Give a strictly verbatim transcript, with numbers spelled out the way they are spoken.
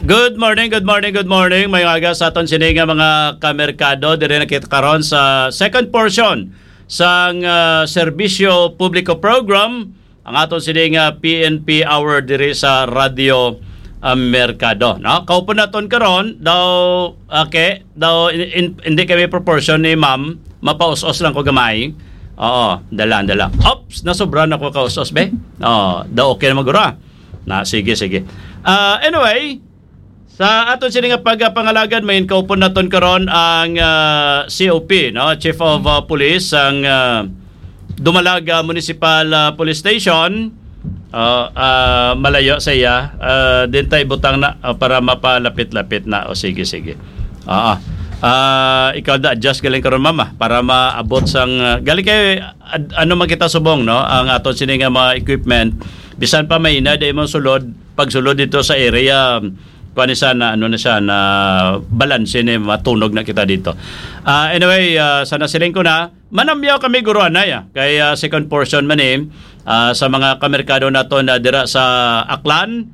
Good morning, good morning, good morning. May aga sa aton sini nga mga kamerkado. Diri na kita karon sa second portion sang ah, Serbisyo Publiko Program, ang aton sini nga P N P Hour diri sa Radyo ah, Merkado, no? Kaupon naton karon daw, okay, daw in, in, hindi kami proportion ni ma'am, mapaus-os lang ko gamay. Oo, dala, dala. Ops, nasobra na ko kaus-os, be. Oh, daw okay na magura. Na, sige, sige. Ah, anyway, sa aton sini nga pagpangalagad, may kaupon naton karon ang ah, C O P, no? Chief of ah, Police, ang ah, Dumalag ah, Municipal ah, Police Station. Ah, ah, malayo sa iya. Ah, din tay butang na ah, para mapalapit-lapit na. O sige, sige. Ah, ah, ikaw da adjust galing karon, mama, para maabot sang ah, galing kay ad- ano man kita subong, no? Ang aton sini nga mga equipment, bisan pa may ina di mo sulod, pagsulod dito sa area, kuan ni sana, ano na siya, na balanse ni matunog na kita dito. Ah, anyway, ah, sana siling ko na, manamyaw kami guro anay, ah, kay ah, second portion man eh, ah, sa mga kamerkado nato na dira sa Aklan,